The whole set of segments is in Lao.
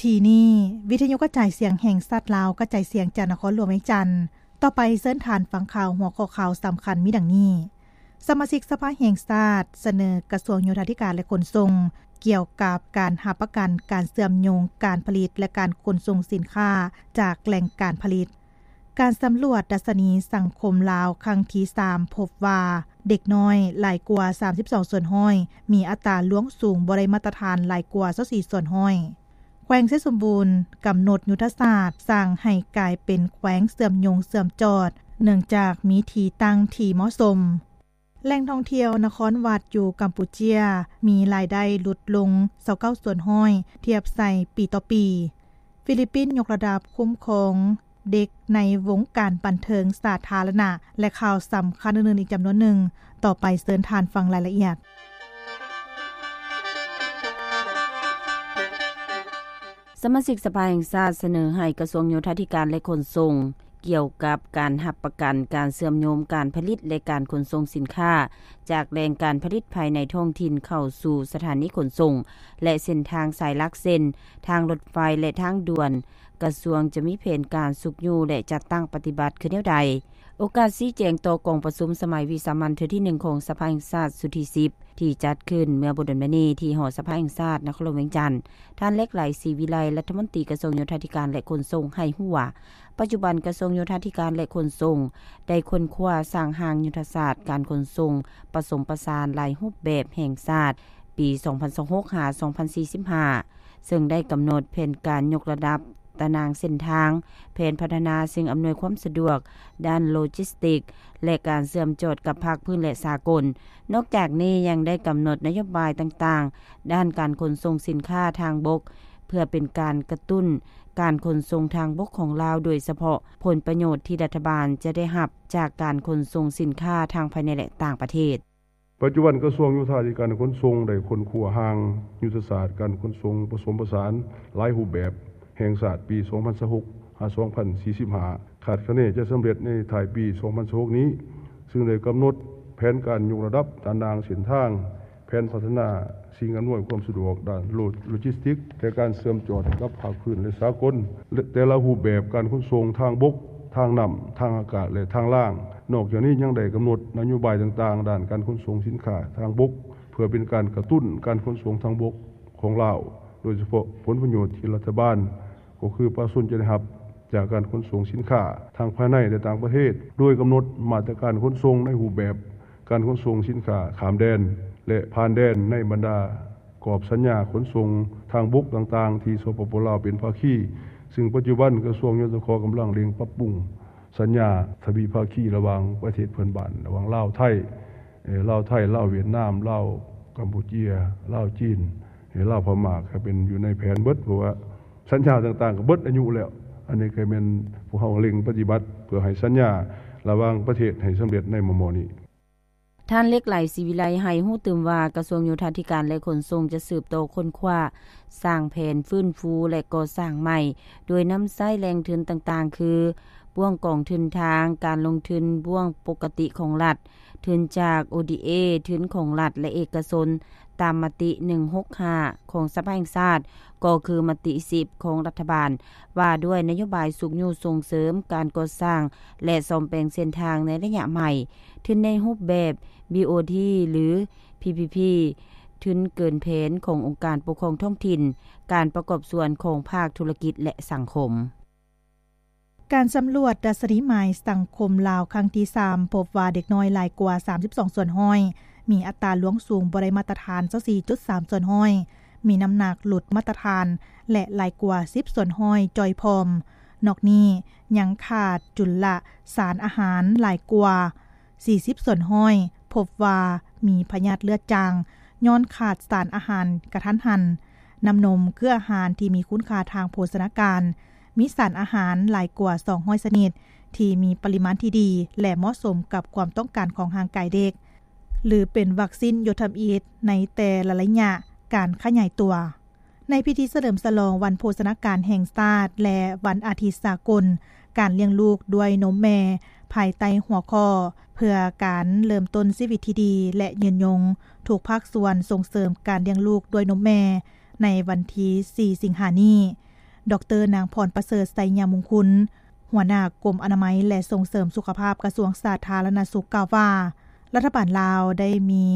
ທີ່ນີ້ ວິທະຍຸກະຈາຍສຽງແຫ່ງຊາດລາວ ກະຈາຍສຽງຈາກນະຄອນຫຼວງວຽງຈັນ. ຕໍ່ໄປເຊີນທ່ານຟັງຂ່າວ ຫົວຂໍ້ຂ່າວສຳຄັນມີດັ່ງນີ້: ສະມາຊິກສະພາແຫ່ງຊາດສະເໜີກະຊວງໂຍທາທິການ ແລະ ຂົນສົ່ງ ກ່ຽວກັບການຮັບປະກັນການເຊື່ອມໂຍງການຜະລິດ ແລະ ການຂົນສົ່ງສິນຄ້າຈາກແຫຼ່ງການຜະລິດ. ການສຳຫຼວດດັດຊະນີສັງຄົມລາວຄັ້ງທີສາມ ພົບວ່າເດັກນ້ອຍຫຼາຍກວ່າສາມສິບສອງສ່ວນຮ້ອຍ, ມີອັດຕາລ່ວງສູງບໍ່ໄດ້ມາດຕະຖານຫຼາຍກວ່າຊາວສີ່ສ່ວນຮ້ອຍ. ແຂວງໄຊສົມບູນກຳນົດຍຸດທະສາດສ້າງໃຫ້ກາຍເປັນແຂວງເຊື່ອມໂຍງເຊື່ອມຈອດ ເນື່ອງຈາກມີທີ່ຕັ້ງທີ່ເໝາະສົມ. ແຫຼ່ງທ່ອງທ່ຽວນະຄອນວັດຢູ່ກຳປູເຈຍ ມີລາຍໄດ້ຫຼຸດລົງຊາວເກົ້າສ່ວນຮ້ອຍ ທຽບໃສ່ປີຕໍ່ປີ. ຟີລິບປິນຍົກລະດັບຄຸ້ມຄອງເດັກໃນວົງການບັນເທີງສາທາລະນະ ແລະ ຂ່າວສຳຄັນອື່ນໆອີກຈຳນວນໜຶ່ງ. ຕໍ່ໄປເຊີນທ່ານຟັງລາຍລະອຽດ. ສະມາຊິກສະພາແຫ່ງຊາດສະເໜີໃຫ້ກະຊວງໂຍທາທິການ ແລະ ຂົນສົ່ງ ກ່ຽວກັບການຮັບປະກັນການເຊື່ອມໂຍງການຜະລິດ ແລະ ການຂົນສົ່ງສິນຄ້າ ຈາກແຫຼ່ງການຜະລິດພາຍໃນທ້ອງຖິ່ນເຂົ້າສູ່ສະຖານີຂົນສົ່ງ ແລະ ເສັ້ນທາງສາຍຫຼັກ ເຊັ່ນ ທາງລົດໄຟ ແລະ ທາງດ່ວນ. ກະຊວງຈະມີແຜນການຊຸກຍູ້ ແລະ ຈັດຕັ້ງປະຕິບັດຄືແນວໃດ? ໂອກາດຊີ້ແຈງຕໍ່ກອງປະຊຸມສະໄໝວິສາມັນເທື່ອທີໜຶ່ງຂອງສະພາແຫ່ງຊາດຊຸດທີສິບ ທີ່ຈັດຂຶ້ນເມື່ອບໍ່ດົນມານີ້ທີ່ຫໍສະພາແຫ່ງຊາດ ນະຄອນຫຼວງວຽງຈັນ, ທ່ານ ເລັກໄຫຼ ສີວິໄລ ລັດຖະມົນຕີກະຊວງໂຍທາທິການ ແລະ ຂົນສົ່ງ ໃຫ້ຮູ້ວ່າ ປັດຈຸບັນກະຊວງໂຍທາທິການ ແລະ ຂົນສົ່ງ ໄດ້ຄົ້ນຄວ້າສ້າງຮ່າງຍຸດທະສາດການຂົນສົ່ງປະສົມປະສານຫຼາຍຮູບແບບແຫ່ງຊາດ ປີສອງພັນຊາວຫົກ ຫາ ສອງພັນສີ່ສິບຫ້າ ເຊິ່ງໄດ້ກຳນົດແຜນການຍົກລະດັບຕາໜ່າງເສັ້ນທາງ, ແຜນພັດທະນາສິ່ງອຳນວຍຄວາມສະດວກດ້ານໂລຈິສຕິກ ແລະ ການເຊື່ອມຈອດກັບພາກພື້ນ ແລະ ສາກົນ. ນອກຈາກນີ້ຍັງໄດ້ກຳນົດນະໂຍບາຍຕ່າງໆ ດ້ານການຂົນສົ່ງສິນຄ້າທາງບົກ ເພື່ອເປັນການກະຕຸ້ນການຂົນສົ່ງທາງບົກຂອງລາວ, ໂດຍສະເພາະຜົນປະໂຫຍດທີ່ລັດຖະບານຈະໄດ້ຮັບຈາກການຂົນສົ່ງສິນຄ້າທັງພາຍໃນ ແລະ ຕ່າງປະເທດ. ປັດຈຸບັນກະຊວງໂຍທາທິການ ແລະ ຂົນສົ່ງໄດ້ຄົ້ນຄວ້າຮ່າງຍຸດທະສາດການຂົນສົ່ງປະສົມປະສານຫຼາຍຮູບແບບແຫ່ງຊາດປີສອງພັນຊາວຫົກ ຫາ ສອງພັນສີ່ສິບຫ້າ ຄາດຄະເນຈະສຳເລັດໃນທ້າຍປີສອງພັນຊາວຫົກນີ້, ເຊິ່ງໄດ້ກຳນົດແຜນການຍົກລະດັບຕາໜ່າງເສັ້ນທາງ, ແຜນພັດທະນາສິ່ງອຳນວຍຄວາມສະດວກດ້ານໂລ ໂລຈິສຕິກ ແລະ ການເຊື່ອມຈອດກັບພາກພື້ນ ແລະ ສາກົນ, ແລະ ແຕ່ລະຮູບແບບການຂົນສົ່ງທາງບົກ, ທາງນ້ຳ, ທາງອາກາດ ແລະ ທາງລາງ. ນອກຈາກນີ້ຍັງໄດ້ກຳນົດນະໂຍບາຍຕ່າງໆດ້ານການຂົນສົ່ງສິນຄ້າທາງບົກ ເພື່ອເປັນການກະຕຸ້ນການຂົນສົ່ງທາງບົກຂອງລາວ, ໂດຍສະເພາະຜົນປະໂຫຍດທີ່ລັດຖະບານ ກໍຄືປະຊາຊົນຈະໄດ້ຮັບຈາກການຂົນສົ່ງສິນຄ້າທັງພາຍໃນ ແລະ ຕ່າງປະເທດ, ໂດຍກຳນົດມາດຕະການຂົນສົ່ງໃນຮູບແບບການຂົນສົ່ງສິນຄ້າຂ້າມແດນ ແລະ ຜ່ານແດນໃນບັນດາກອບສັນຍາຂົນສົ່ງທາງບົກຕ່າງໆ ທີ່ ສປປ ລາວ ເປັນພາຄີ, ເຊິ່ງປັດຈຸບັນກະຊວງ ຍສຂ ກຳລັງເລັ່ງປັບປຸງສັນຍາທະວີພາຄີລະຫວ່າງປະເທດເພື່ອນບ້ານ, ລະຫວ່າງລາວ-ໄທ, ເອີ ລາວ-ໄທ, ລາວ-ຫວຽດນາມ, ລາວ-ກຳປູເຈຍ, ລາວ-ຈີນ, ເອີ ລາວ-ພະມ້າ ກໍເປັນຢູ່ໃນແຜນເບິດ, ເພາະວ່າ ສັນຍາຕ່າງໆກໍເບິດອາຍຸແລ້ວ. ອັນນີ້ກໍແມ່ນພວກເຮົາເລັ່ງປະຕິບັດເພື່ອໃຫ້ສັນຍາລະຫວ່າງປະເທດໃຫ້ສຳເລັດໃນມໍ່ໆນີ້. ທ່ານ ເລັກໄຫຼ ສີວິໄລ ໃຫ້ຮູ້ຕື່ມວ່າ ກະຊວງໂຍທາທິການ ແລະ ຂົນສົ່ງ ຈະສືບຕໍ່ຄົ້ນຄວ້າ, ສ້າງແຜນຟື້ນຟູ ແລະ ກໍ່ສ້າງໃໝ່, ໂດຍນຳໃຊ້ແຫຼ່ງທຶນຕ່າງໆ ຄື ບ່ວງກອງທຶນທາງການລົງທຶນ, ບ່ວງປົກກະຕິຂອງລັດ, ທຶນຈາກ ໂອ ດີ ເອ, ທຶນຂອງລັດ ແລະ ເອກະຊົນ, ຕາມມະຕິ ໜຶ່ງຫົກຫ້າ ຂອງສະພາແຫ່ງຊາດ, ກໍຄືມະຕິ ສິບ ຂອງລັດຖະບານ ວ່າດ້ວຍນະໂຍບາຍຊຸກຍູ້ສົ່ງເສີມການກໍ່ສ້າງ ແລະ ສ້ອມແປງເສັ້ນທາງໃນໄລຍະໃໝ່, ທຶນໃນຮູບແບບ ບີ ໂອ ທີ ຫຼື ພີ ພີ ພີ, ທຶນເກີນແຜນຂອງອົງການປົກຄອງທ້ອງຖິ່ນ, ການປະກອບສ່ວນຂອງພາກທຸລະກິດ ແລະ ສັງຄົມ. ການສຳຫຼວດດັດຊະນີໝາຍສັງຄົມລາວຄັ້ງທີສາມ ພົບວ່າເດັກນ້ອຍຫຼາຍກວ່າສາມສິບສອງສ່ວນຮ້ອຍ, ມີອັດຕາລ່ວງສູງບໍ່ໄດ້ມາດຕະຖານຊາວສີ່ຈຸດສາມສ່ວນຮ້ອຍ, ມີນ້ຳໜັກຫຼຸດມາດຕະຖານ ແລະ ຫຼາຍກວ່າສິບສ່ວນຮ້ອຍຈ່ອຍພ້ອມ. ນອກນີ້ຍັງຂາດຈຸນລະສານອາຫານຫຼາຍກວ່າ ສີ່ສິບສ່ວນຮ້ອຍ, ພົບວ່າມີພະຍາດເລືອດຈາງຍ້ອນຂາດສານອາຫານກະທັນຫັນ, ນ້ຳນົມ, ເຄືອອາຫານທີ່ມີຄຸນຄ່າທາງໂພຊະນາການ, ມີສານອາຫານຫຼາຍກວ່າສອງຮ້ອຍຊະນິດ ທີ່ມີປະລິມານທີ່ດີ ແລະ ເໝາະສົມກັບຄວາມຕ້ອງການຂອງຮ່າງກາຍເດັກ, ຫຼື ເປັນວັກຊີນໂຍທຳອິດໃນແຕ່ລະໄລຍະການຂະຫຍາຍຕົວ. ໃນພິທີສະເຫຼີມສະຫຼອງວັນໂພຊະນາການແຫ່ງຊາດ ແລະ ວັນອາທິດສາກົນການລ້ຽງລູກດ້ວຍນົມແມ່ ພາຍໃຕ້ຫົວຂໍ້ ເພື່ອການເລີ່ມຕົ້ນຊີວິດທີ່ດີ ແລະ ຍືນຍົງ, ທຸກພາກສ່ວນສົ່ງເສີມການລ້ຽງລູກດ້ວຍນົມແມ່ ໃນວັນທີສີ່ ສິງຫານີ້, ດຣ. ນາງ ພອນປະເສີດ ໄຊຍະມຸງຄຸນ ຫົວໜ້າກົມອະນາໄມ ແລະ ສົ່ງເສີມສຸຂະພາບ ກະຊວງສາທາລະນະສຸກ ກ່າວວ່າ ລັດຖະບານລາວໄດ້ມີ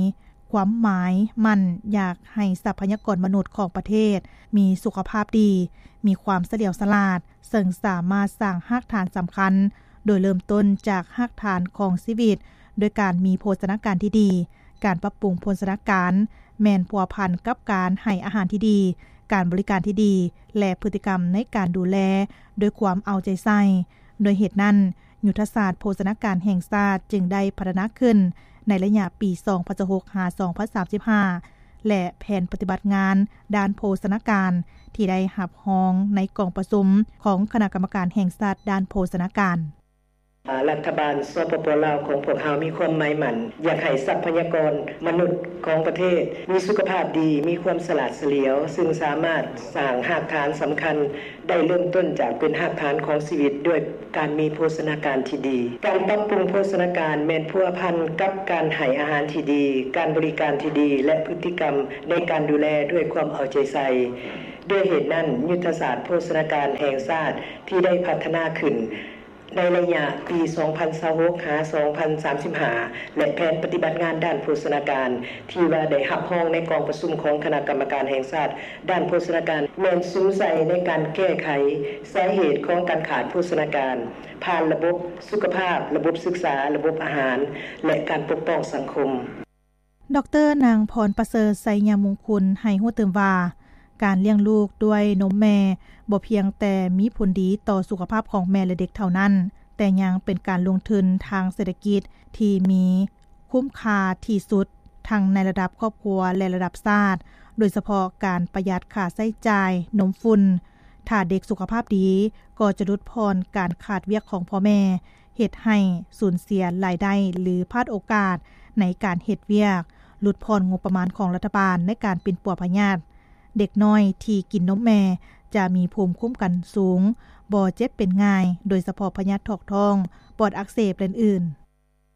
ຄວາມໝາຍໝັ້ນຢາກໃຫ້ຊັບພະຍາກອນມະນຸດຂອງປະເທດມີສຸຂະພາບດີ, ມີຄວາມສະຫຼຽວສະຫຼາດ, ເຊິ່ງສາມາດສ້າງຮາກຖານສຳຄັນ ໂດຍເລີ່ມຕົ້ນຈາກຮາກຖານຂອງຊີວິດ ດ້ວຍການມີໂພຊະນາການທີ່ດີ. ການປັບປຸງໂພຊະນາການແມ່ນພົວພັນກັບການໃຫ້ອາຫານທີ່ດີ, ການບໍລິການທີ່ດີ ແລະ ພຶດຕິກຳໃນການດູແລດ້ວຍຄວາມເອົາໃຈໃສ່. ດ້ວຍເຫດນັ້ນ, ຍຸດທະສາດໂພຊະນາການແຫ່ງຊາດຈຶ່ງໄດ້ພັດທະນາຂຶ້ນໃນໄລຍະປີສອງພັນຊາວຫົກ ຫາ ສອງພັນສາມສິບຫ້າ ແລະ ແຜນປະຕິບັດງານດ້ານໂພຊະນາການ ທີ່ໄດ້ຮັບຮອງໃນກອງປະຊຸມຂອງຄະນະກຳມະການແຫ່ງຊາດດ້ານໂພຊະນາການ. ລັດຖະບານ ສປປ ລາວ ຂອງພວກເຮົາມີຄວາມໝາຍໝັ້ນ ຢາກໃຫ້ຊັບພະຍາກອນມະນຸດຂອງປະເທດມີສຸຂະພາບດີ, ມີຄວາມສະຫຼາດສະຫຼຽວ, ຊຶ່ງສາມາດສ້າງຮາກຖານສຳຄັນ ໄດ້ເລີ່ມຕົ້ນຈາກເປັນຮາກຖານຂອງຊີວິດ ດ້ວຍການມີໂພຊະນາການທີ່ດີ. ການປັບປຸງໂພຊະນາການແມ່ນພົວພັນກັບການໃຫ້ອາຫານທີ່ດີ, ການບໍລິການທີ່ດີ ແລະ ພຶດຕິກຳໃນການດູແລດ້ວຍຄວາມເອົາໃຈໃສ່. ດ້ວຍເຫດນັ້ນ, ຍຸດທະສາດໂພຊະນາການແຫ່ງຊາດທີ່ໄດ້ພັດທະນາຂຶ້ນ ໃນໄລຍະປີສອງພັນຊາວຫົກ ຫາ ສອງພັນສາມສິບຫ້າ ແລະ ແຜນປະຕິບັດງານດ້ານໂພຊະນາການ ທີ່ວ່າໄດ້ຮັບຮອງໃນກອງປະຊຸມຂອງຄະນະກຳມະການແຫ່ງຊາດດ້ານໂພຊະນາການ ແມ່ນສຸມໃສ່ໃນການແກ້ໄຂສາເຫດຂອງການຂາດໂພຊະນາການ ຜ່ານລະບົບສຸຂະພາບ, ລະບົບສຶກສາ, ລະບົບອາຫານ ແລະ ການປົກປ້ອງສັງຄົມ. ດຣ. ນາງ ພອນປະເສີດ ໄຊຍະມຸງຄຸນ ໃຫ້ຮູ້ຕື່ມວ່າ ການລ້ຽງລູກດ້ວຍນົມແມ່ບໍ່ພຽງແຕ່ມີຜົນດີຕໍ່ສຸຂະພາບຂອງແມ່ ແລະ ເດັກເທົ່ານັ້ນ, ແຕ່ຍັງເປັນການລົງທຶນທາງເສດຖະກິດທີ່ມີຄຸ້ມຄ່າທີ່ສຸດ ທັງໃນລະດັບຄອບຄົວ ແລະ ລະດັບຊາດ, ໂດຍສະເພາະການປະຢັດຄ່າໃຊ້ຈ່າຍນົມຝຸ່ນ. ຖ້າເດັກສຸຂະພາບດີ, ກໍຈະຫຼຸດຜ່ອນການຂາດວຽກຂອງພໍ່ແມ່, ເຮັດໃຫ້ສູນເສຍລາຍໄດ້ ຫຼື ພາດໂອກາດໃນການເຮັດວຽກ, ຫຼຸດຜ່ອນງົບປະມານຂອງລັດຖະບານໃນການປິ່ນປົວພະຍາດ. ເດັກນ້ອຍທີ່ກິນນົມແມ່ຈະມີພູມຄຸ້ມກັນສູງ, ບໍ່ເຈັບເປັນງ່າຍ, ໂດຍສະເພາະພະຍາດຖອກທ້ອງ, ປອດອັກເສບ ແລະ ອື່ນ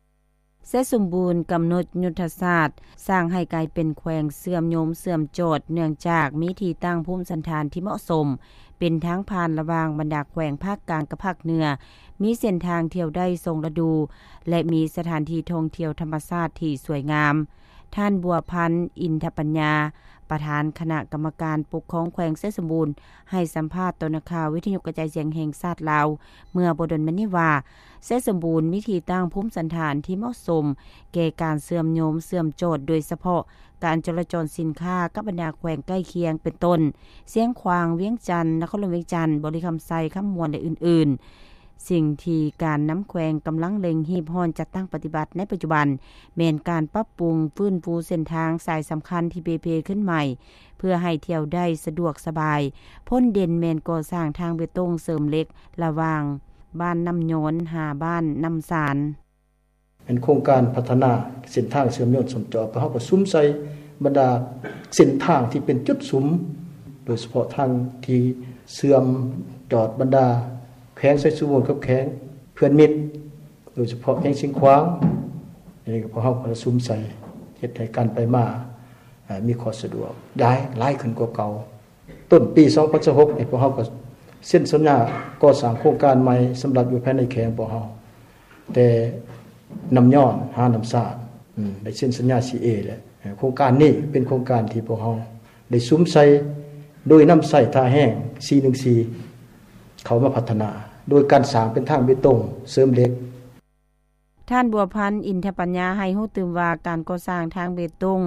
ໆ. ໄຊສົມບູນກຳນົດຍຸດທະສາດສ້າງໃຫ້ກາຍເປັນແຂວງເຊື່ອມໂຍງເຊື່ອມຈອດ ເນື່ອງຈາກມີທີ່ຕັ້ງພູມສັນຖານທີ່ເໝາະສົມ, ເປັນທາງຜ່ານລະຫວ່າງບັນດາແຂວງພາກກາງກັບພາກເໜືອ, ມີເສັ້ນທາງທ່ຽວໄດ້ສອງລະດູ ແລະ ມີສະຖານທີ່ທ່ອງທ່ຽວທຳມະຊາດທີ່ສວຍງາມ. ທ່ານ ບົວພັນ ອິນທະປັນຍາ ປະທານຄະນະກຳມະການປົກຄອງແຂວງໄຊສົມບູນ ໃຫ້ສຳພາດຕໍ່ນັກຂ່າວວິທະຍຸກະຈາຍສຽງແຫ່ງຊາດລາວ ເມື່ອບໍ່ດົນມານີ້ວ່າ ໄຊສົມບູນມີທີ່ຕັ້ງພູມສັນຖານທີ່ເໝາະສົມແກ່ການເຊື່ອມໂຍງເຊື່ອມຈອດ, ໂດຍສະເພາະການຈໍລະຈອນສິນຄ້າກັບບັນດາແຂວງໃກ້ຄຽງ ເປັນຕົ້ນ ຊຽງຂວາງ, ວຽງຈັນ, ນະຄອນຫຼວງວຽງຈັນ, ບໍລິຄຳໄຊ, ຄຳມ່ວນ ແລະ ອື່ນໆ. ສິ່ງທີ່ການນຳແຂວງກຳລັງເລັ່ງຮີບຮ້ອນຈັດຕັ້ງປະຕິບັດໃນປັດຈຸບັນ ແມ່ນການປັບປຸງຟື້ນຟູເສັ້ນທາງສາຍສຳຄັນທີ່ເປ່ເພຂຶ້ນໃໝ່ ເພື່ອໃຫ້ທ່ຽວໄດ້ສະດວກສະບາຍ. ພົ້ນເດັ່ນແມ່ນກໍ່ສ້າງທາງເບຕົງເສີມເຫຼັກລະຫວ່າງບ້ານນ້ຳຍອນຫາບ້ານນ້ຳຊານ. ແມ່ນໂຄງການພັດທະນາເສັ້ນທາງເຊື່ອມໂຍງເຊື່ອມຈອດ, ພວກເຮົາກໍສຸມໃສ່ບັນດາເສັ້ນທາງທີ່ເປັນຈຸດສຸມ, ໂດຍສະເພາະທາງທີ່ເຊື່ອມຈອດບັນດາແຂວງໄຊສົມບູນກັບແຂວງເພື່ອນມິດ, ໂດຍສະເພາະແຂວງຊຽງຂວາງ. ອັນນີ້ກໍພວກເຮົາກໍສຸມໃສ່ ເຮັດໃຫ້ການໄປມາ ເອີ ມີຂໍ້ສະດວກ ຫຼາຍ ຫຼາຍຂຶ້ນກວ່າເກົ່າ. ຕົ້ນປີສອງພັນຊາວຫົກນີ້ ພວກເຮົາກໍເຊັນສັນຍາກໍ່ສ້າງໂຄງການໃໝ່ສຳລັບຢູ່ພາຍໃນແຂວງພວກເຮົາ, ແຕ່ນ້ຳຍອນຫານ້ຳຊານ ອືມ ໄດ້ເຊັນສັນຍາ ຊີເອ ແລ້ວ. ເອີ ໂຄງການນີ້ເປັນໂຄງການທີ່ພວກເຮົາໄດ້ສຸມໃສ່ ໂດຍນຳໃຊ້ທ່າແຮງສີ່ໜຶ່ງສີ່ເຂົ້າມາພັດທະນາ ໂດຍການສ້າງເປັນທາງເບຕົງເສີມເຫຼັກ. ທ່ານ ບົວພັນ ອິນທະປັນຍາ ໃຫ້ຮູ້ຕື່ມວ່າ ການກໍ່ສ້າງທາງເບຕົງ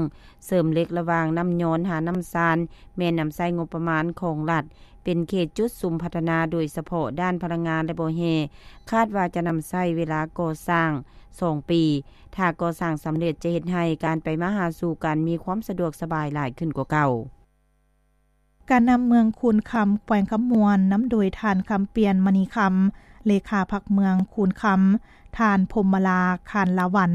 ເສີມເຫຼັກລະຫວ່າງນ້ຳຍອນຫານ້ຳຊານ ແມ່ນນຳໃຊ້ງົບປະມານຂອງລັດ ເປັນເຂດຈຸດສຸມພັດທະນາ ໂດຍສະເພາະດ້ານພະລັງງານ ແລະ ບໍ່ແຮ່, ຄາດວ່າຈະນຳໃຊ້ເວລາກໍ່ສ້າງສອງປີ. ຖ້າກໍ່ສ້າງສຳເລັດ ຈະເຮັດໃຫ້ການໄປມາຫາສູ່ກັນມີຄວາມສະດວກສະບາຍຫຼາຍຂຶ້ນກວ່າເກົ່າ. ການນຳເມືອງຄູນຄຳ ແຂວງຄຳມ່ວນ ນຳໂດຍທ່ານ ຄຳປ່ຽນ ມະນີຄຳ ເລຂາພັກເມືອງຄູນຄຳ, ທ່ານ ພົມມະລາ ຄານລາວັນ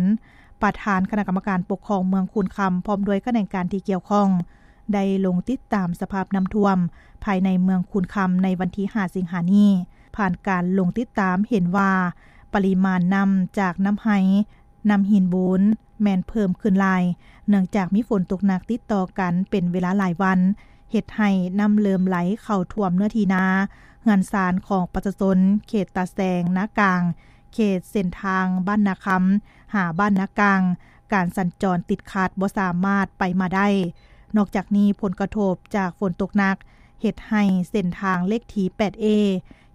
ປະທານຄະນະກຳມະການປົກຄອງເມືອງຄູນຄຳ ພ້ອມດ້ວຍຂະແໜງການທີ່ກ່ຽວຂ້ອງ ໄດ້ລົງຕິດຕາມສະພາບນ້ຳຖ້ວມພາຍໃນເມືອງຄູນຄຳ ໃນວັນທີຫ້າ ສິງຫານີ້. ຜ່ານການລົງຕິດຕາມເຫັນວ່າ ປະລິມານນ້ຳຈາກນ້ຳໄຮ່ ນ້ຳຫີນບູນ ແມ່ນເພີ່ມຂຶ້ນຫຼາຍ ເນື່ອງຈາກມີຝົນຕົກໜັກຕິດຕໍ່ກັນເປັນເວລາຫຼາຍວັນ, ເຮັດໃຫ້ນ້ຳເລີ່ມໄຫຼເຂົ້າຖ້ວມເນື້ອທີ່ນາ ເຮືອນຊານຂອງປະຊາຊົນ ເຂດຕາແສງ ນາກາງ, ເຂດເສັ້ນທາງບ້ານນາຄຳ ຫາບ້ານນາກາງ, ການສັນຈອນຕິດຂັດ ບໍ່ສາມາດໄປມາໄດ້. ນອກຈາກນີ້, ຜົນກະທົບຈາກຝົນຕົກໜັກ ເຮັດໃຫ້ເສັ້ນທາງເລກທີ ແປດເອ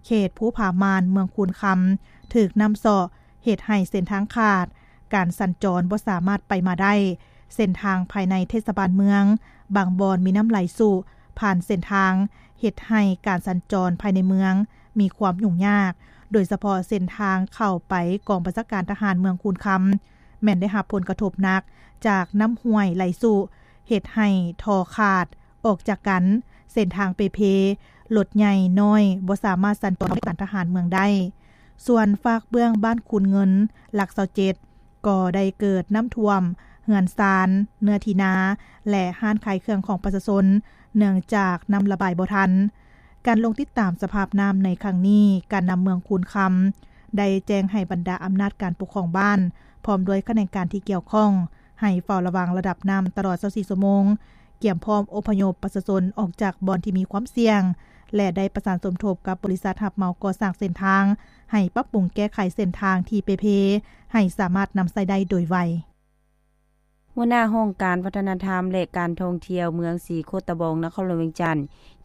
ເຂດພູຜາມ່ານ ເມືອງຄູນຄຳ ຖືກນ້ຳເຊາະ, ເຮັດໃຫ້ເສັ້ນທາງຂາດ, ການສັນຈອນບໍ່ສາມາດໄປມາໄດ້. ເສັ້ນທາງພາຍໃນເທດສະບານເມືອງ ບາງບ່ອນມີນ້ຳໄຫຼຊຸຜ່ານເສັ້ນທາງ, ເຮັດໃຫ້ການສັນຈອນພາຍໃນເມືອງມີຄວາມຫຍຸ້ງຍາກ, ໂດຍສະເພາະເສັ້ນທາງເຂົ້າໄປກອງບັນຊາການທະຫານເມືອງຄູນຄຳ ແມ່ນໄດ້ຮັບຜົນກະທົບໜັກຈາກນ້ຳຫ້ວຍໄຫຼຊຸ, ເຮັດໃຫ້ທໍ່ຂາດອອກຈາກກັນ, ເສັ້ນທາງເປ່ເພ, ລົດໃຫຍ່ນ້ອຍບໍ່ສາມາດສັນຈອນເຂົ້າໃນການທະຫານເມືອງໄດ້. ສ່ວນຟາກເບື້ອງບ້ານຄູນເງິນ ຫຼັກຊາວເຈັດ ກໍໄດ້ເກີດນ້ຳຖ້ວມເຮືອນຊານ, ເນື້ອທີ່ນາ ແລະ ຮ້ານຂາຍເຄື່ອງຂອງປະຊາຊົນ ເນື່ອງຈາກນ້ຳລະບາຍບໍ່ທັນ. ການລົງຕິດຕາມສະພາບນ້ຳໃນຄັ້ງນີ້, ການນຳເມືອງຄູນຄຳ ໄດ້ແຈ້ງໃຫ້ບັນດາອຳນາດການປົກຄອງບ້ານ ພ້ອມດ້ວຍຂະແໜງການທີ່ກ່ຽວຂ້ອງ ໃຫ້ເຝົ້າລະວັງລະດັບນ້ຳຕະຫຼອດຊາວສີ່ຊົ່ວໂມງ, ກຽມພ້ອມອົບພະຍົບປະຊາຊົນອອກຈາກບ່ອນທີ່ມີຄວາມສ່ຽງ ແລະ ໄດ້ປະສານສົມທົບກັບບໍລິສັດຮັບເໝົາກໍ່ສ້າງເສັ້ນທາງ ໃຫ້ປັບປຸງແກ້ໄຂເສັ້ນທາງທີ່ເປ່ເພ ໃຫ້ສາມາດນຳໃຊ້ໄດ້ໂດຍໄວ. ຫົວໜ້າຫ້ອງການວັດທະນະທຳ ແລະ ການທ່ອງທ່ຽວເມືອງສີໂຄດຕະບອງ ນະຄອນຫຼວງວຽງຈັນ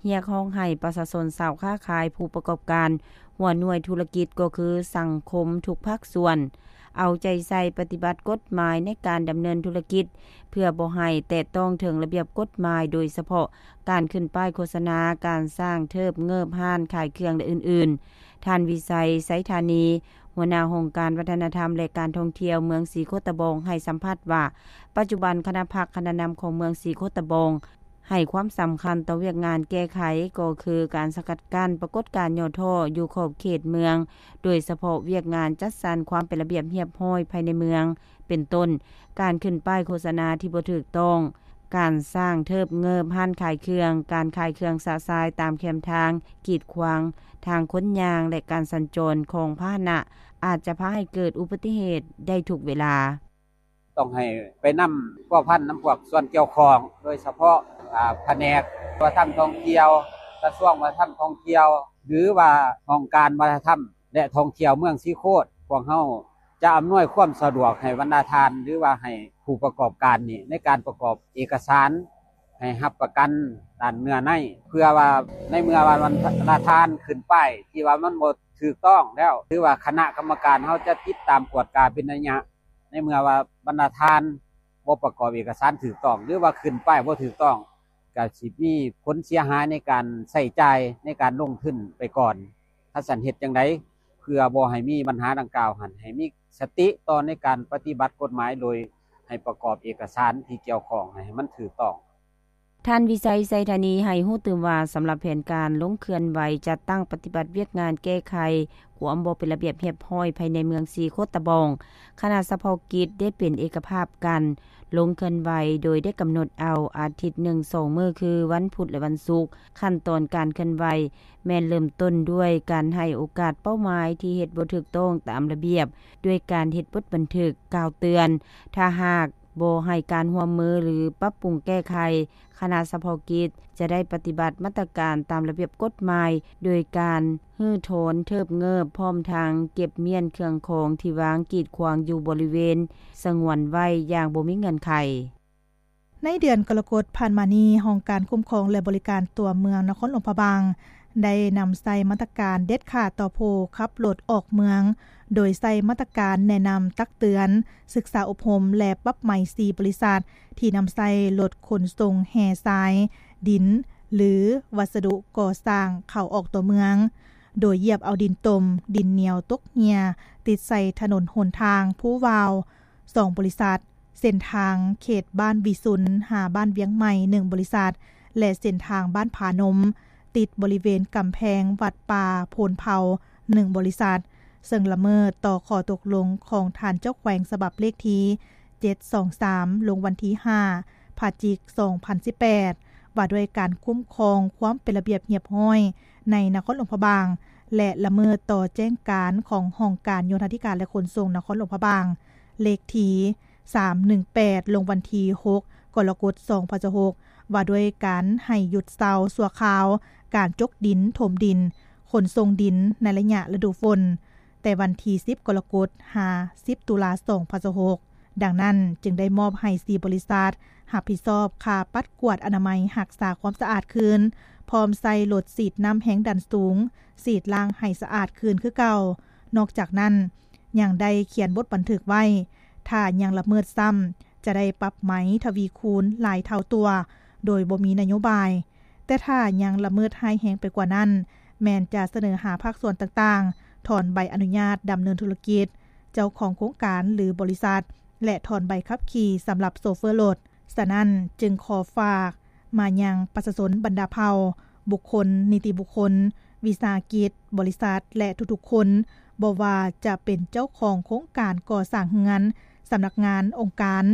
ຮຽກຮ້ອງໃຫ້ປະຊາຊົນ, ຊາວຄ້າຂາຍ, ຜູ້ປະກອບການ, ຫົວໜ່ວຍທຸລະກິດ ກໍຄືສັງຄົມທຸກພາກສ່ວນ ເອົາໃຈໃສ່ປະຕິບັດກົດໝາຍໃນການດຳເນີນທຸລະກິດ ເພື່ອບໍ່ໃຫ້ແຕະຕ້ອງເຖິງລະບຽບກົດໝາຍ, ໂດຍສະເພາະການຂຶ້ນປ້າຍໂຄສະນາ, ການສ້າງເທີບເງີບຮ້ານຂາຍເຄື່ອງ ແລະ ອື່ນໆ. ທ່ານ ວິໄຊ ໄຊທານີ, ຫົວໜ້າຫ້ອງການວັດທະນະທຳ ແລະ ການທ່ອງທ່ຽວເມືອງສີໂຄດຕະບອງ ໃຫ້ສຳພາດວ່າ ປັດຈຸບັນຄະນະພັກຄະນະນຳຂອງເມືອງສີໂຄດຕະບອງ ໃຫ້ຄວາມສຳຄັນຕໍ່ວຽກງານແກ້ໄຂ ກໍຄືການສະກັດກັ້ນປາກົດການຫຍໍ້ທໍ້ຢູ່ຂອບເຂດເມືອງ, ໂດຍສະເພາະວຽກງານຈັດສັນຄວາມເປັນລະບຽບຮຽບຮ້ອຍພາຍໃນເມືອງ, ເປັນຕົ້ນ ການຂຶ້ນປ້າຍໂຄສະນາທີ່ບໍ່ຖືກຕ້ອງ, ການສ້າງເທີບເງີບຮ້ານຂາຍເຄື່ອງ, ການຂາຍເຄື່ອງຊະຊາຍຕາມແຄມທາງ, ກີດຂວາງທາງຄົນຍ່າງ ແລະ ການສັນຈອນຂອງພາຫະນະ ອາດຈະພາໃຫ້ເກີດອຸບັດຕິເຫດໄດ້ທຸກເວລາ. ຕ້ອງໃຫ້ໄປນຳພົວພັນນຳພວກສ່ວນກ່ຽວຂ້ອງ ໂດຍສະເພາະ ອາ ພະແນກວັດທະນະທຳທ່ອງທ່ຽວ, ກະຊວງວັດທະນະທຳທ່ອງທ່ຽວ ຫຼືວ່າຫ້ອງການວັດທະນະທຳ ແລະ ທ່ອງທ່ຽວເມືອງສີໂຄດ. ພວກເຮົາຈະອຳນວຍຄວາມສະດວກໃຫ້ບັນດາທ່ານ ຫຼືວ່າໃຫ້ຜູ້ປະກອບການນີ້ ໃນການປະກອບເອກະສານໃຫ້ຮັບປະກັນດ້ານເນື້ອໃນ ເພື່ອວ່າໃນເມື່ອວ່າບັນດາທ່ານຂຶ້ນປ້າຍທີ່ວ່າມັນບໍ່ຖືກຕ້ອງແລ້ວ ຫຼືວ່າຄະນະກຳມະການເຮົາຈະຕິດຕາມກວດກາເປັນໄລຍະ. ໃນເມື່ອວ່າບັນດາທ່ານບໍ່ປະກອບເອກະສານຖືກຕ້ອງ ຫຼືວ່າຂຶ້ນປ້າຍບໍ່ຖືກຕ້ອງ ກະຊິມີຜົນເສຍຫາຍໃນການໃຊ້ຈ່າຍໃນການລົງທຶນໄປກ່ອນ. ຄັນຊັ້ນເຮັດຈັ່ງໃດ ເພື່ອບໍ່ໃຫ້ມີບັນຫາດັ່ງກ່າວຫັ້ນ ໃຫ້ມີສະຕິຕໍ່ໃນການປະຕິບັດກົດໝາຍ ໂດຍໃຫ້ປະກອບເອກະສານທີ່ກ່ຽວຂ້ອງໃຫ້ມັນຖືກຕ້ອງ. ທ່ານ ວິໄຊ ໄຊທານີ ໃຫ້ຮູ້ຕື່ມວ່າ ສຳລັບແຜນການລົງເຄື່ອນໄຫວຈັດຕັ້ງປະຕິບັດວຽກງານແກ້ໄຂຄວາມບໍ່ເປັນລະບຽບຮຽບຮ້ອຍພາຍໃນເມືອງສີໂຄດຕະບອງ, ຄະນະສະເພາະກິດໄດ້ເປັນເອກະພາບກັນ ລົງເຄື່ອນໄຫວ ໂດຍໄດ້ກຳນົດເອົາອາທິດໜຶ່ງສອງມື້ ຄື ວັນພຸດ ແລະ ວັນສຸກ. ຂັ້ນຕອນການເຄື່ອນໄຫວແມ່ນເລີ່ມຕົ້ນດ້ວຍການໃຫ້ໂອກາດເປົ້າໝາຍທີ່ເຮັດບໍ່ຖືກຕ້ອງຕາມລະບຽບ ດ້ວຍການເຮັດບົດບັນທຶກກ່າວເຕືອນ. ຖ້າຫາກບໍ່ໃຫ້ການຮ່ວມມື ຫຼື ປັບປຸງແກ້ໄຂ, ຄະນະສະເພາະກິດຈະໄດ້ປະຕິບັດມາດຕະການຕາມລະບຽບກົດໝາຍ ໂດຍການຮື້ຖອນເທີບເງີບ ພ້ອມທັງເກັບມ້ຽນເຄື່ອງຂອງທີ່ວາງກີດຂວາງຢູ່ບໍລິເວນສະຫງວນໄວ້ຢ່າງບໍ່ມີເງື່ອນໄຂ. ໃນເດືອນກໍລະກົດຜ່ານມານີ້, ຫ້ອງການຄຸ້ມຄອງ ແລະ ບໍລິການຕົວເມືອງນະຄອນຫຼວງພະບາງ ໄດ້ນຳໃຊ້ມາດຕະການເດັດຂາດຕໍ່ຜູ້ຂັບລົດອອກເມືອງ, ໂດຍໃຊ້ມາດຕະການແນະນຳ, ຕັກເຕືອນ, ສຶກສາອົບຮົມ ແລະ ປັບໃໝສີ່ບໍລິສັດ ທີ່ນຳໃຊ້ລົດຂົນສົ່ງແຮ່ຊາຍ, ດິນ ຫຼື ວັດສະດຸກໍ່ສ້າງເຂົ້າອອກຕົວເມືອງ, ໂດຍຢຽບເອົາດິນຕົມ, ດິນໜຽວຕົກເຫຍື້ອ ຕິດໃສ່ຖະໜົນຫົນທາງພູວາວ ສອງບໍລິສັດ, ເສັ້ນທາງເຂດບ້ານວິສຸນ ຫາບ້ານວຽງໃໝ່ ໜຶ່ງບໍລິສັດ ແລະ ເສັ້ນທາງບ້ານຜານົມ ຕິດບໍລິເວນກຳແພງວັດປ່າໂພນເພົາ ໜຶ່ງບໍລິສັດ, ເຊິ່ງລະເມີດຕໍ່ຂໍ້ຕົກລົງຂອງທ່ານເຈົ້າແຂວງ ສະບັບເລກທີເຈັດສອງສາມ ລົງວັນທີຫ້າ ພະຈິກ ສອງພັນສິບແປດ ວ່າດ້ວຍການຄຸ້ມຄອງຄວາມເປັນລະບຽບຮຽບຮ້ອຍໃນນະຄອນຫຼວງພະບາງ ແລະ ລະເມີດຕໍ່ແຈ້ງການຂອງຫ້ອງການໂຍທາທິການ ແລະ ຂົນສົ່ງນະຄອນຫຼວງພະບາງ ເລກທີສາມໜຶ່ງແປດ ລົງວັນທີຫົກ ກໍລະກົດ ສອງພັນຊາວຫົກ ວ່າດ້ວຍການໃຫ້ຢຸດເຊົາຊົ່ວຄາວການຈົກດິນ, ຖົມດິນ, ຂົນສົ່ງດິນໃນໄລຍະລະດູຝົນ ແຕ່ວັນທີສິບ ກໍລະກົດ ຫາ ສິບ ຕຸລາ ສອງພັນຊາວຫົກ. ດັ່ງນັ້ນ, ຈຶ່ງໄດ້ມອບໃຫ້ສີ່ບໍລິສັດຮັບຜິດຊອບຄ່າປັດກວາດອະນາໄມ, ຮັກສາຄວາມສະອາດຄືນ, ພ້ອມໃຊ້ລົດສີດນ້ຳແຮງດັນສູງ ສີດລ້າງໃຫ້ສະອາດຄືນຄືເກົ່າ. ນອກຈາກນັ້ນ, ຍັງໄດ້ຂຽນບົດບັນທຶກໄວ້, ຖ້າຍັງລະເມີດຊ້ຳ ຈະໄດ້ປັບໃໝທະວີຄູນຫຼາຍເທົ່າຕົວ ໂດຍບໍ່ມີນະໂຍບາຍ. ແຕ່ຖ້າຍັງລະເມີດຮ້າຍແຮງໄປກວ່ານັ້ນ, ແມ່ນຈະສະເໜີຫາພາກສ່ວນຕ່າງໆ ຖອນໃບອະນຸຍາດດຳເນີນທຸລະກິດ, ເຈົ້າຂອງໂຄງການ ຫຼື ບໍລິສັດ ແລະ ຖອນໃບຂັບຂີ່ສຳລັບໂຊເຟີລົດ. ສະນັ້ນ, ຈຶ່ງຂໍຝາກມາຍັງປະຊາຊົນບັນດາເຜົ່າ, ບຸກຄົນ, ນິຕິບຸກຄົນ, ວິສາຫະກິດ, ບໍລິສັດ ແລະ ທຸກໆຄົນ, ບໍ່ວ່າຈະເປັນເຈົ້າຂອງໂຄງການກໍ່ສ້າງເຮືອນ, ສຳນັກງານ, ອົງການ,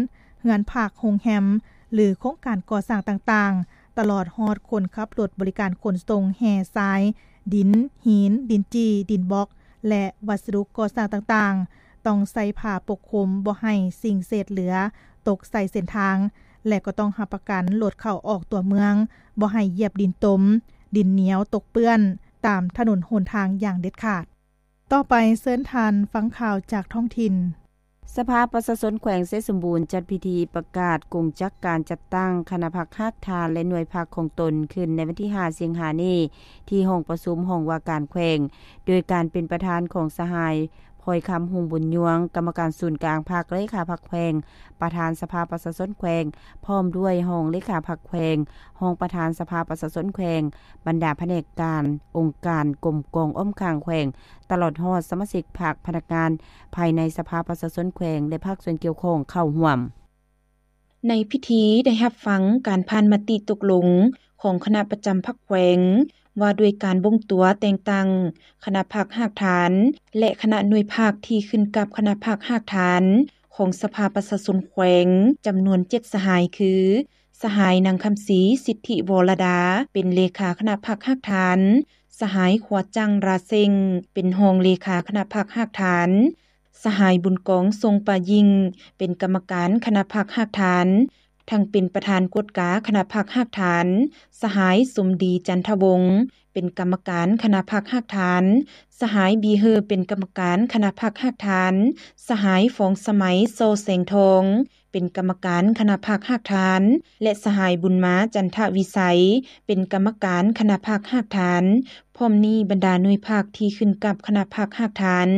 ເຮືອນພັກ, ໂຮງແຮມ ຫຼື ໂຄງການກໍ່ສ້າງຕ່າງໆ, ຕະຫຼອດຮອດຄົນຂັບລົດບໍລິການຂົນສົ່ງແຮ່ຊາຍ, ດິນ, ຫີນ, ດິນຈີ່, ດິນບລັອກ ແລະ ວັດສະດຸກໍ່ສ້າງຕ່າງໆ, ຕ້ອງໃສ່ຜ້າປົກຄຸມບໍ່ໃຫ້ສິ່ງເສດເຫຼືອຕົກໃສ່ເສັ້ນທາງ ແລະ ກໍຕ້ອງຮັບປະກັນລົດເຂົ້າອອກຕົວເມືອງ ບໍ່ໃຫ້ຢຽບດິນຕົມ, ດິນໜຽວຕົກເປື້ອນຕາມຖະໜົນຫົນທາງຢ່າງເດັດຂາດ. ຕໍ່ໄປເຊີນທ່ານຟັງຂ່າວຈາກທ້ອງຖິ່ນ. ສະພາປະຊາຊົນແຂວງໄຊສົມບູນຈັດພິທີປະກາດກົງຈັກການຈັດຕັ້ງຄະນະພັກຮາກຖານ ແລະ ໜ່ວຍພັກຂອງຕົນ ຂຶ້ນໃນວັນທີຫ້າ ສິງຫານີ້ ທີ່ຫ້ອງປະຊຸມຫ້ອງວ່າການແຂວງ ໂດຍການເປັນປະທານຂອງສະຫາຍ ພອຍຄຳ ຮຸ່ງບຸນຍວງ ກຳມະການສູນກາງພັກ, ເລຂາພັກແຂວງ, ປະທານສະພາປະຊາຊົນແຂວງ, ພ້ອມດ້ວຍຮອງເລຂາພັກແຂວງ, ຮອງປະທານສະພາປະຊາຊົນແຂວງ, ບັນດາພະແນກການ, ອົງການ, ກົມກອງອ້ອມຂ້າງແຂວງ, ຕະຫຼອດຮອດສະມາຊິກພັກ, ພະນັກງານພາຍໃນສະພາປະຊາຊົນແຂວງ ແລະ ພາກສ່ວນກ່ຽວຂ້ອງເຂົ້າຮ່ວມ. ໃນພິທີໄດ້ຮັບຟັງການຜ່ານມະຕິຕົກລົງຂອງຄະນະປະຈຳພັກແຂວງ ວ່າດ້ວຍການບົ່ງຕົວແຕ່ງຕັ້ງຄະນະພັກຮາກຖານ ແລະ ຄະນະໜ່ວຍພັກທີ່ຂຶ້ນກັບຄະນະພັກຮາກຖານຂອງສະພາປະຊາຊົນແຂວງ ຈຳນວນເຈັດສະຫາຍ ຄື ສະຫາຍ ນາງຄຳສີ ສິດທິວໍລະດາ ເປັນເລຂາຄະນະພັກຮາກຖານ, ສະຫາຍ ຂົວຈັງ ຣາເຊັງ ເປັນຮອງເລຂາຄະນະພັກຮາກຖານ, ສະຫາຍ ບຸນກອງ ຊົງປາຍິ່ງ ເປັນກຳມະການຄະນະພັກຮາກຖານ ທັງເປັນປະທານກວດກາຄະນະພັກຮາກຖານ, ສະຫາຍ ສົມດີ ຈັນທະວົງ ເປັນກຳມະການຄະນະພັກຮາກຖານ, ສະຫາຍ ບີເຮີ ເປັນກຳມະການຄະນະພັກຮາກຖານ, ສະຫາຍ ຟອງສະໄໝ ສໍແສງທອງ ເປັນກຳມະການຄະນະພັກຮາກຖານ ແລະ ສະຫາຍ ບຸນມາ ຈັນທະວິໄສ ເປັນກຳມະການຄະນະພັກຮາກຖານ. ພ້ອມນີ້ບັນດາໜ່ວຍພັກທີ່ຂຶ້ນກັບຄະນະພັກຮາກຖານ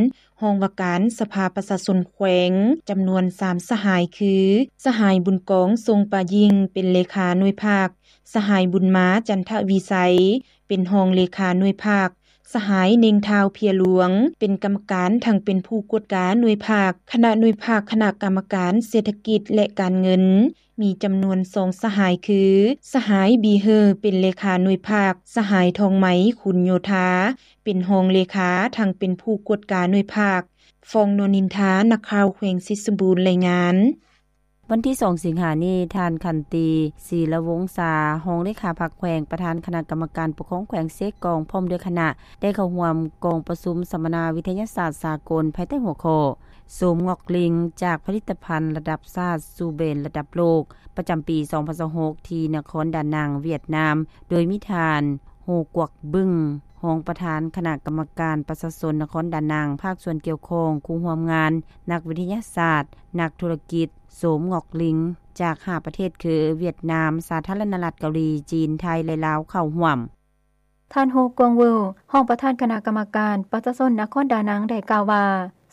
ຫ້ອງວ່າການສະພາປະຊາຊົນແຂວງ ຈຳນວນສາມສະຫາຍ ຄື ສະຫາຍ ບຸນກອງ ຊົງປາຍິ່ງ ເປັນເລຂາໜ່ວຍພັກ, ສະຫາຍ ບຸນມາ ຈັນທະວິໄສ ເປັນຮອງເລຂາໜ່ວຍພັກ, ສະຫາຍ ເນັ່ງ ທ້າວເພຍຫຼວງ ເປັນກຳມະການ ທັງເປັນຜູ້ກວດກາໜ່ວຍພັກ, ຄະນະໜ່ວຍພັກຄະນະກຳມະການເສດຖະກິດ ແລະ ການເງິນ ມີຈຳນວນສອງສະຫາຍ ຄື ສະຫາຍ ບີເຮີ ເປັນເລຂາໜ່ວຍພັກ, ສະຫາຍ ທອງໄໝ ຂຸນໂຍທາ ເປັນຮອງເລຂາ ທັງເປັນຜູ້ກວດກາໜ່ວຍພັກ. ຟອງ ໂນນິນທາ ນັກຂ່າວແຂວງໄຊສົມບູນ ລາຍງານ. ວັນທີສອງ ສິງຫານີ້, ທ່ານ ຂັນຕີ ສີລະວົງສາ ຮອງເລຂາພັກແຂວງ, ປະທານຄະນະກຳມະການປົກຄອງແຂວງເຊກອງ ພ້ອມດ້ວຍຄະນະ ໄດ້ເຂົ້າຮ່ວມກອງປະຊຸມສຳມະນາວິທະຍາສາດສາກົນ ພາຍໃຕ້ຫົວຂໍ້ ໂສມງອກລິ່ງ ຈາກຜະລິດຕະພັນລະດັບຊາດສູ່ແບຣນລະດັບໂລກ ປະຈຳປີສອງພັນຊາວຫົກ ທີ່ນະຄອນດານັງ, ຫວຽດນາມ, ໂດຍມີທ່ານ ໂຮກວກບຶງ ຮອງປະທານຄະນະກຳມະການປະຊາຊົນນະຄອນດານັງ, ພາກສ່ວນກ່ຽວຂ້ອງ, ຄູ່ຮ່ວມງານ, ນັກວິທະຍາສາດ, ນັກທຸລະກິດ ໂສມງອກລິ່ງ ຈາກຫ້າປະເທດຄື ຫວຽດນາມ, ສາທາລະນະລັດເກົາຫຼີ, ຈີນ, ໄທ ແລະ ລາວ ເຂົ້າຮ່ວມ. ທ່ານ ໂຮກວງເວີ ຮອງປະທານຄະນະກຳມະການປະຊາຊົນນະຄອນດານັງ ໄດ້ກ່າວວ່າ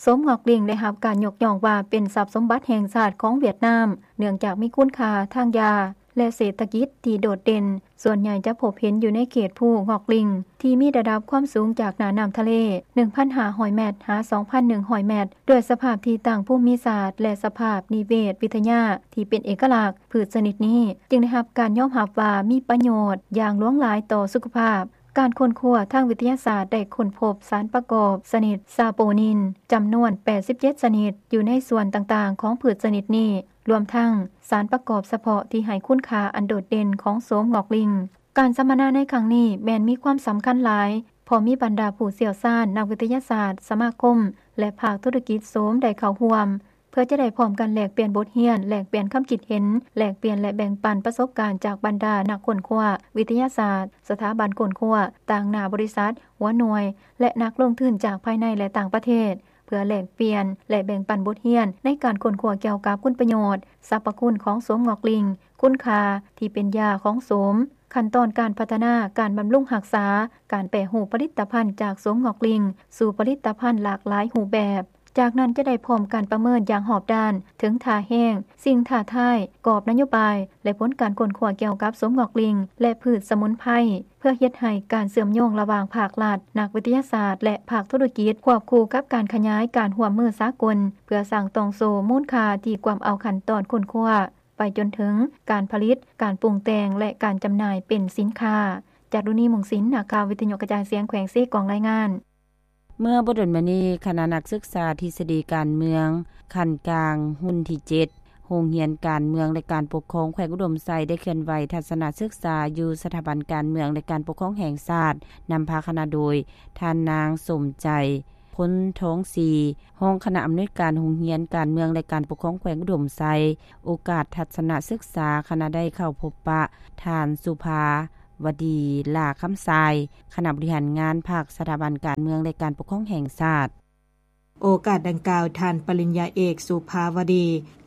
ໂສມງອກລິ່ງໄດ້ຮັບການຍົກຍ້ອງວ່າເປັນຊັບສົມບັດແຫ່ງຊາດຂອງຫວຽດນາມ ເນື່ອງຈາກມີຄຸນຄ່າທາງຢາ ແລະ ເສດຖະກິດທີ່ໂດດເດັ່ນ, ສ່ວນໃຫຍ່ຈະພົບເຫັນຢູ່ໃນເຂດພູງອກລິ່ງ ທີ່ມີລະດັບຄວາມສູງຈາກໜ້ານ້ຳທະເລ ໜຶ່ງພັນຫ້າຮ້ອຍແມັດ ຫາ ສອງພັນໜຶ່ງຮ້ອຍແມັດ, ດ້ວຍສະພາບທີ່ຕັ້ງພູມມິສາດ ແລະ ສະພາບນິເວດວິທະຍາທີ່ເປັນເອກະລັກ, ພືດຊະນິດນີ້ຈຶ່ງໄດ້ຮັບການຍອມຮັບວ່າມີປະໂຫຍດຢ່າງຫຼວງຫຼາຍຕໍ່ສຸຂະພາບ. ການຄົ້ນຄວ້າທາງວິທະຍາສາດໄດ້ຄົ້ນພົບສານປະກອບຊະນິດຊາໂປນິນ ຈຳນວນແປດສິບເຈັດຊະນິດ ຢູ່ໃນສ່ວນຕ່າງໆຂອງພືດຊະນິດນີ້, ລວມທັງສານປະກອບສະເພາະທີ່ໃຫ້ຄຸນຄ່າອັນໂດດເດັ່ນຂອງໂສມງອກລິ່ງ. ການສຳມະນາໃນຄັ້ງນີ້ແມ່ນມີຄວາມສຳຄັນຫຼາຍ, ເພາະມີບັນດາຜູ້ຊ່ຽວຊານ, ນັກວິທະຍາສາດ, ສະມາຄົມ ແລະ ພາກທຸລະກິດໂສມໄດ້ເຂົ້າຮ່ວມ. ເພື່ອຈະໄດ້ພ້ອມກັນແລກປ່ຽນບົດຮຽນ, ແລກປ່ຽນຄຳຄິດເຫັນ, ແລກປ່ຽນ ແລະ ແບ່ງປັນປະສົບການຈາກບັນດານັກຄົ້ນຄວ້າ, ວິທະຍາສາດ, ສະຖາບັນຄົ້ນຄວ້າ, ຕາງໜ້າບໍລິສັດ, ຫົວໜ່ວຍ ແລະ ນັກລົງທຶນຈາກພາຍໃນ ແລະ ຕ່າງປະເທດ, ເພື່ອແລກປ່ຽນ ແລະ ແບ່ງປັນບົດຮຽນໃນການຄົ້ນຄວ້າກ່ຽວກັບຄຸນປະໂຫຍດ, ສັບພະຄຸນຂອງໂສມງອກລິງ, ຄຸນຄ່າທີ່ເປັນຢາຂອງໂສມ, ຂັ້ນຕອນການພັດທະນາ, ການບຳລຸງຮັກສາ, ການແປຮູບຜະລິດຕະພັນຈາກໂສມງອກລິງສູ່ຜະລິດຕະພັນຫຼາກຫຼາຍຮູບແບບ. ຈາກນັ້ນຈະໄດ້ພ້ອມການປະເມີນຢ່າງຮອບດ້ານເຖິງທ່າແຮງ, ສິ່ງທ້າທາຍ, ກອບນະໂຍບາຍ ແລະ ຜົນການຄົ້ນຄວ້າກ່ຽວກັບໂສມງອກລິງ ແລະ ພືດສະໝຸນໄພ, ເພື່ອເຮັດໃຫ້ການເຊື່ອມໂຍງລະຫວ່າງພາກລັດ, ນັກວິທະຍາສາດ ແລະ ພາກທຸລະກິດ ຄວບຄູ່ກັບການຂະຫຍາຍການຮ່ວມມືສາກົນ ເພື່ອສ້າງຕ່ອງໂສ້ມູນຄ່າທີ່ກວມເອົາຂັ້ນຕອນຄົ້ນຄວ້າ ໄປຈົນເຖິງການຜະລິດ, ການປຸງແຕ່ງ ແລະ ການຈຳໜ່າຍເປັນສິນຄ້າ. ຈາຕຸນີ ມຸງສິນ, ນັກຂ່າວວິທະຍຸກະຈາຍສຽງແຂວງເຊກອງ ລາຍງານ. ເມື່ອບໍ່ດົນມານີ້, ຄະນະນັກສຶກສາທິດສະດີການເມືອງຂັ້ນກາງ ຮຸ່ນທີເຈັດ ໂຮງຮຽນການເມືອງ ແລະ ການປົກຄອງແຂວງອຸດົມໄຊ ໄດ້ເຄື່ອນໄຫວທັດສະນະສຶກສາຢູ່ສະຖາບັນການເມືອງ ແລະ ການປົກຄອງແຫ່ງຊາດ, ນຳພາຄະນະໂດຍ ທ່ານນາງ ສົມໃຈ ພົນທອງສີ ຮອງຄະນະອຳນວຍການໂຮງຮຽນການເມືອງ ແລະ ການປົກຄອງແຂວງອຸດົມໄຊ. ໂອກາດທັດສະນະສຶກສາ, ຄະນະໄດ້ເຂົ້າພົບປະທ່ານ ສຸພາວະດີ ຫຼ້າຄຳຊາຍ ຄະນະບໍລິຫານງານພັກ, ສະຖາບັນການເມືອງ ແລະ ການປົກຄອງແຫ່ງຊາດ. ໂອກາດດັ່ງກ່າວ, ທ່ານປະລິນຍາເອກ ສຸພາວະດີ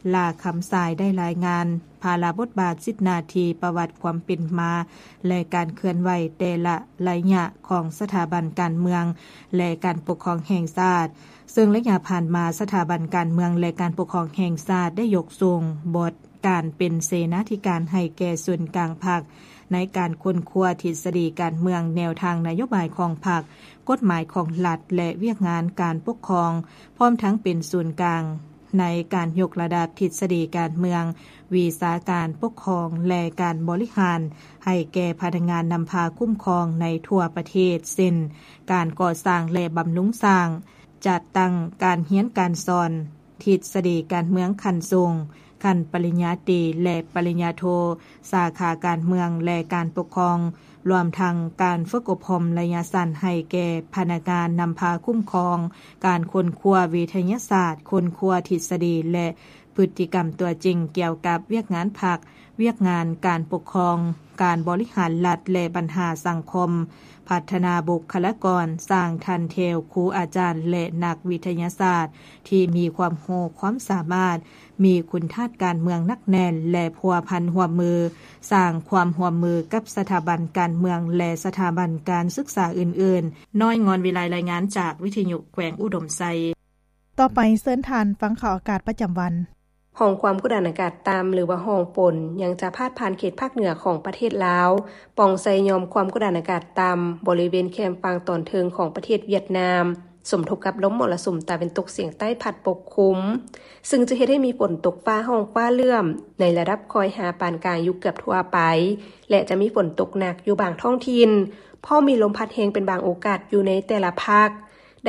ຫຼ້າຄຳຊາຍ ໄດ້ລາຍງານພາລະບົດບາດ, ສິດໜ້າທີ່, ປະຫວັດຄວາມເປັນມາ ແລະ ການເຄື່ອນໄຫວແຕ່ລະໄລຍະຂອງສະຖາບັນການເມືອງ ແລະ ການປົກຄອງແຫ່ງຊາດ, ເຊິ່ງໄລຍະຜ່ານມາ ສະຖາບັນການເມືອງ ແລະ ການປົກຄອງແຫ່ງຊາດ ໄດ້ຍົກສູງບົດການເປັນເສນາທິການໃຫ້ແກ່ສູນກາງພັກ ໃນການຄົ້ນຄວ້າທິດສະດີການເມືອງ, ແນວທາງນະໂຍບາຍຂອງພັກ, ກົດໝາຍຂອງລັດ ແລະ ວຽກງານການປົກຄອງ, ພ້ອມທັງເປັນສູນກາງໃນການຍົກລະດັບທິດສະດີການເມືອງ, ວິຊາການປົກຄອງ ແລະ ການບໍລິຫານ ໃຫ້ແກ່ພະນັກງານນຳພາຄຸ້ມຄອງໃນທົ່ວປະເທດ, ເຊັ່ນ ການກໍ່ສ້າງ ແລະ ບຳລຸງສ້າງ, ຈັດຕັ້ງການຮຽນການສອນ, ທິດສະດີການເມືອງຂັ້ນສູງ, ຂັ້ນປະລິນຍາຕີ ແລະ ປະລິນຍາໂທ, ສາຂາການເມືອງ ແລະ ການປົກຄອງ, ລວມທັງການຝຶກອົບຮົມໄລຍະສັ້ນໃຫ້ແກ່ພະນັກງານນຳພາຄຸ້ມຄອງ, ການຄົ້ນຄວ້າວິທະຍາສາດ, ຄົ້ນຄວ້າທິດສະດີ ແລະ ພຶດຕິກຳຕົວຈິງກ່ຽວກັບວຽກງານພັກ, ວຽກງານການປົກຄອງ, ການບໍລິຫານລັດ ແລະ ບັນຫາສັງຄົມ, ພັດທະນາບຸກຄະລາກອນ, ສ້າງຖັນແຖວຄູອາຈານ ແລະ ນັກວິທະຍາສາດທີ່ມີຄວາມຮູ້ຄວາມສາມາດ, ມີຄຸນທາດການເມືອງໜັກແໜ້ນ ແລະ ພົວພັນຮ່ວມມື, ສ້າງຄວາມຮ່ວມມືກັບສະຖາບັນການເມືອງ ແລະ ສະຖາບັນການສຶກສາອື່ນໆ. ນ້ອຍ ງອນວິໄລ ລາຍງານຈາກວິທະຍຸແຂວງອຸດົມໄຊ. ຕໍ່ໄປເຊີນທ່ານຟັງຂ່າວອາກາດປະຈຳວັນ. ຮ່ອງຄວາມກົດອາກາດຕ່ຳ ຫຼືວ່າຮ່ອງຝົນ ຍັງຈະພາດຜ່ານເຂດພາກເໜືອຂອງປະເທດລາວ, ປ່ອງໃສ່ຫຍ່ອມຄວາມກົດອາກາດຕ່ຳ ບໍລິເວນແຄມຝັ່ງຕອນເທິງຂອງປະເທດຫວຽດນາມ, ສົມທົບກັບລົມມໍລະສຸມຕາເວັນຕົກສຽງໃຕ້ພັດປົກຄຸມ, ຊຶ່ງຈະເຮັດໃຫ້ມີຝົນຕົກຟ້າຮ້ອງຟ້າເຫຼື້ອມ ໃນລະດັບຄ່ອຍຫາປານກາງຢູ່ເກືອບທົ່ວໄປ ແລະ ຈະມີຝົນຕົກໜັກຢູ່ບາງທ້ອງຖິ່ນ, ພ້ອມມີລົມພັດແຮງເປັນບາງໂອກາດຢູ່ໃນແຕ່ລະພາກ.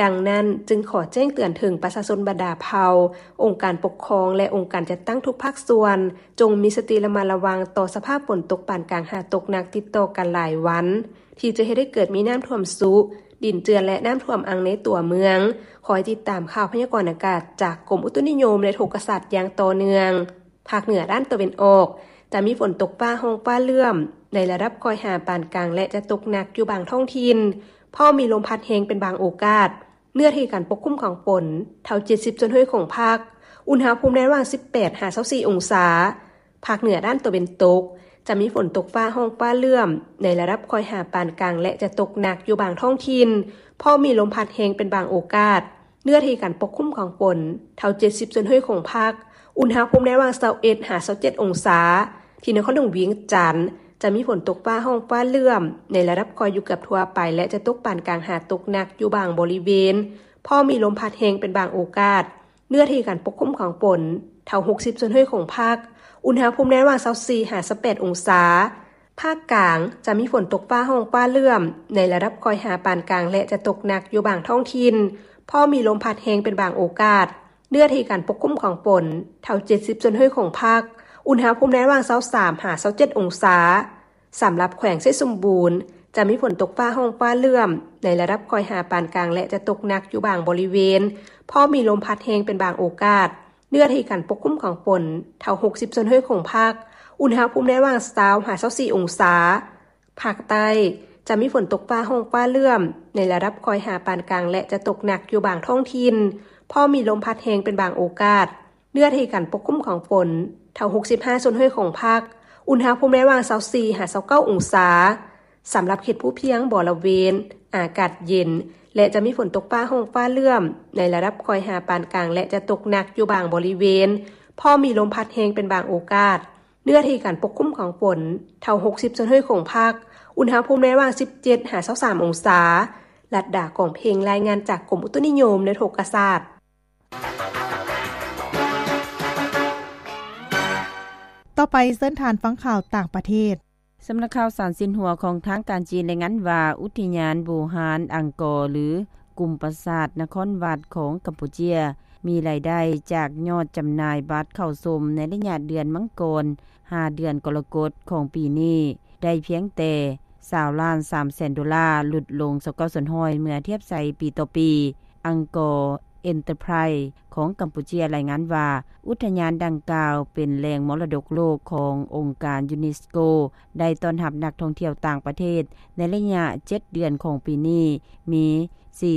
ດັ່ງນັ້ນ, ຈຶ່ງຂໍແຈ້ງເຕືອນເຖິງປະຊາຊົນບັນດາເຜົ່າ, ອົງການປົກຄອງ ແລະ ອົງການຈັດຕັ້ງທຸກພາກສ່ວນ, ຈົ່ງມີສະຕິລະມັດລະວັງຕໍ່ສະພາບຝົນຕົກປານກາງຫາຕົກໜັກຕິດຕໍ່ກັນຫຼາຍວັນ, ທີ່ຈະເຮັດໃຫ້ເກີດມີນ້ຳຖ້ວມຊຸ, ດິນເຈື່ອນ ແລະ ນ້ຳຖ້ວມອັ່ງໃນຕົວເມືອງ. ຄອຍຕິດຕາມຂ່າວພະຍາກອນອາກາດຈາກກົມອຸຕຸນິຍົມ ແລະ ອຸທົກກະສາດຢ່າງຕໍ່ເນື່ອງ. ພາກເໜືອດ້ານຕາເວັນອອກ ຈະມີຝົນຕົກຟ້າຮ້ອງຟ້າເຫຼື້ອມ ໃນລະດັບຄ່ອຍຫາປານກາງ ແລະ ຈະຕົກໜັກຢູ່ບາງທ້ອງຖິ່ນ, ພ້ອມມີລົມພັດແຮງເປັນບາງໂອກາດ. ເນື້ອທີ່ການປົກຄຸມຂອງຝົນ ເທົ່າເຈັດສິບສ່ວນຮ້ອຍຂອງພາກ, ອຸນຫະພູມໃນລະຫວ່າງສິບແປດຫາຊາວສີ່ອົງສາ. ພາກເໜືອດ້ານຕາເວັນຕົກ ຈະມີຝົນຕົກຟ້າຮ້ອງຟ້າເຫຼື້ອມ ໃນລະດັບຄ່ອຍຫາປານກາງ ແລະ ຈະຕົກໜັກຢູ່ບາງທ້ອງຖິ່ນ, ພ້ອມມີລົມພັດແຮງເປັນບາງໂອກາດ. ເນື້ອທີ່ການປົກຄຸມຂອງຝົນ ເທົ່າເຈັດສິບສ່ວນຮ້ອຍຂອງພາກ, ອຸນຫະພູມໃນລະຫວ່າງຊາວເອັດຫາຊາວເຈັດອົງສາ. ທີ່ນະຄອນຫຼວງວຽງຈັນ ຈະມີຝົນຕົກຟ້າຮ້ອງຟ້າເຫຼື້ອມ ໃນລະດັບຄ່ອຍຢູ່ເກືອບທົ່ວໄປ ແລະ ຈະຕົກປານກາງຫາຕົກໜັກຢູ່ບາງບໍລິເວນ, ພ້ອມມີລົມພັດແຮງເປັນບາງໂອກາດ. ເນື້ອທີ່ການປົກຄຸມຂອງຝົນ ເທົ່າຫົກສິບສ່ວນຮ້ອຍຂອງພາກ, ອຸນຫະພູມໃນລະຫວ່າງຊາວສີ່ຫາຊາວແປດອົງສາ. ພາກກາງ ຈະມີຝົນຕົກຟ້າຮ້ອງຟ້າເຫຼື້ອມ ໃນລະດັບຄ່ອຍຫາປານກາງ ແລະ ຈະຕົກໜັກຢູ່ບາງທ້ອງຖິ່ນ, ພ້ອມມີລົມພັດແຮງເປັນບາງໂອກາດ. ເນື້ອທີ່ການປົກຄຸມຂອງຝົນ ເທົ່າເຈັດສິບສ່ວນຮ້ອຍຂອງພາກ, ອຸນຫະພູມໃນລະຫວ່າງຊາວສາມຫາຊາວເຈັດອົງສາ. ສຳລັບແຂວງໄຊສົມບູນ ຈະມີຝົນຕົກຟ້າຮ້ອງຟ້າເຫຼື້ອມ ໃນລະດັບຄ່ອຍຫາປານກາງ ແລະ ຈະຕົກໜັກຢູ່ບາງບໍລິເວນ, ພ້ອມມີລົມພັດແຮງເປັນບາງໂອກາດ. ເນື້ອທີ່ການປົກຄຸມຂອງຝົນ ເທົ່າຫົກສິບສ່ວນຮ້ອຍຂອງພາກ, ອຸນຫະພູມໃນລະຫວ່າງຊາວຫາຊາວສີ່ອົງສາ. ພາກໃຕ້ຈະມີຝົນຕົກຟ້າຮ້ອງຟ້າເຫຼື້ອມ ໃນລະດັບຄ່ອຍຫາປານກາງ ແລະ ຈະຕົກໜັກຢູ່ບາງທ້ອງຖິ່ນ, ພໍມີລົມພັດແຮງເປັນບາງໂອກາດ. ເນື້ອທີ່ການປົກຄຸມຂອງຝົນ ເທົ່າຫົກສິບຫ້າສ່ວນຮ້ອຍຂອງພາກ, ອຸນຫະພູມໃນລະຫວ່າງຊາວສີ່ຫາຊາວເກົ້າອົງສາ. ສຳລັບເຂດພູພຽງບໍລະເວນ ອາກາດເຢັນ ແລະ ຈະມີຝົນຕົກຟ້າຮ້ອງຟ້າເຫຼື້ອມ ໃນລະດັບຄ່ອຍຫາປານກາງ ແລະ ຈະຕົກໜັກຢູ່ບາງບໍລິເວນ, ພໍມີລົມພັດແຮງເປັນບາງໂອກາດ. ເນື້ອທີ່ການປົກຄຸມຂອງຝົນ ເທົ່າຫົກສິບສ່ວນຮ້ອຍຂອງພາກ, ອຸນຫະພູມໃນລະຫວ່າງສິບເຈັດຫາຊາວສາມອົງສາ. ລັດດາ ກອງເພັງ ລາຍງານຈາກກົມອຸຕຸນິຍົມ ແລະ ອຸທົກກະສາດ. ຕໍ່ໄປເຊີນທ່ານຟັງຂ່າວຕ່າງປະເທດ. ສຳນັກຂ່າວສານຊິນຫົວຂອງທາງການຈີນລາຍງານວ່າ ອຸທິຍານບູຮານອັງກໍ ຫຼື ກຸ່ມປາສາດນະຄອນວັດຂອງກຳປູເຈຍ ມີລາຍໄດ້ຈາກຍອດຈຳໜ່າຍບັດເຂົ້າຊົມໃນໄລຍະເດືອນມັງກອນ ຫາເດືອນກໍລະກົດຂອງປີນີ້ ໄດ້ພຽງແຕ່ຊາວລ້ານສາມແສນໂດລາ, ຫຼຸດລົງຊາວເກົ້າສ່ວນຮ້ອຍເມື່ອທຽບໃສ່ປີຕໍ່ປີ. ອັງກໍ Enterprise ຂອງກຳປູເຈຍລາຍງານວ່າ ອຸທະຍານດັ່ງກ່າວເປັນແຫຼ່ງມໍລະດົກໂລກຂອງອົງການຢູເນສໂກ ໄດ້ຕ້ອນຮັບນັກທ່ອງທ່ຽວຕ່າງປະເທດໃນໄລຍະເຈັດເດືອນຂອງປີນີ້ ມີ